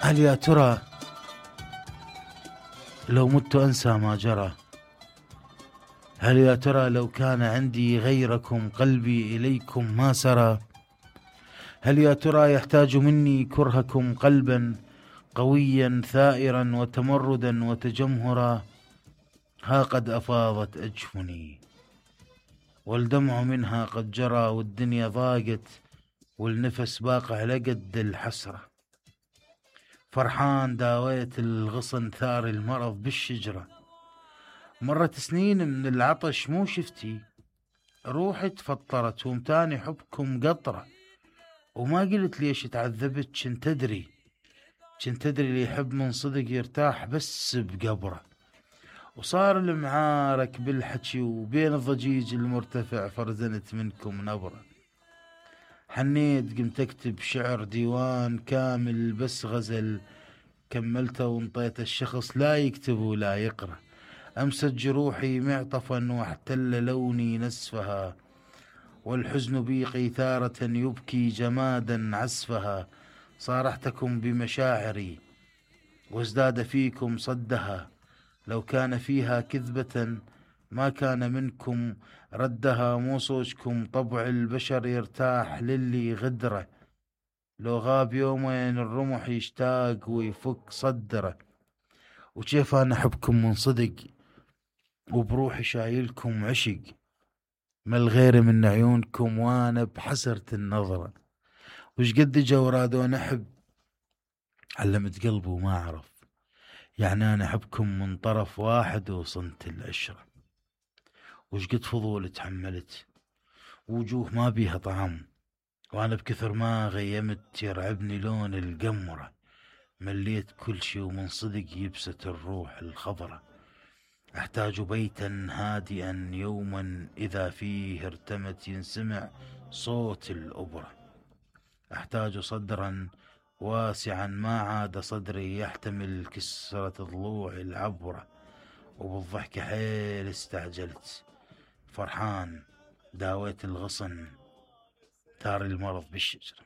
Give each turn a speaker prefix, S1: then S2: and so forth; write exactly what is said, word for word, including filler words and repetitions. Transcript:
S1: هل يا ترى لو مت أنسى ما جرى؟ هل يا ترى لو كان عندي غيركم قلبي إليكم ما سرى؟ هل يا ترى يحتاج مني كرهكم قلبا قويا ثائرا وتمردا وتجمهرا؟ ها قد أفاضت أجفني والدمع منها قد جرى، والدنيا ضاقت والنفس باقع لقد الحسرة. فرحان داويت الغصن ثار المرض بالشجرة، مرت سنين من العطش مو شفتي، روحي تفطرت ومتاني حبكم قطرة. وما قلت ليش تعذبت، كنت تدري كنت تدري اللي يحب من صدق يرتاح بس بقبره. وصار المعارك بالحكي وبين الضجيج المرتفع فرزنت منكم نبرة. حنيت قمت اكتب شعر ديوان كامل بس غزل، كملته وانطيت الشخص لا يكتب ولا يقرأ. أمست جروحي معطفا واحتل لوني نسفها، والحزن بي قيثارة يبكي جمادا عسفها. صارحتكم بمشاعري وازداد فيكم صدها، لو كان فيها كذبة ما كان منكم ردها. مو صوجكم طبع البشر يرتاح للي غدره، لو غاب يومين الرمح يشتاق ويفك صدره. وكيف أنا أحبكم من صدق وبروحي شايلكم عشق، ما الغير من عيونكم وانا بحسرة النظرة. وش قد جو رادون احب علمت قلبي وما اعرف، يعني انا احبكم من طرف واحد وصنت العشرة. وش قد فضول تحملت وجوه ما بيها طعم، وانا بكثر ما غيمت يرعبني لون القمرة. مليت كل شي ومن صدق يبست الروح الخضرة. احتاج بيتا هادئا يوما اذا فيه ارتمت ينسمع صوت الأبرة. احتاج صدرا واسعا ما عاد صدري يحتمل كسرة ضلوع العبرة. وبالضحك حيل استعجلت، فرحان داويت الغصن ثار المرض بالشجرة.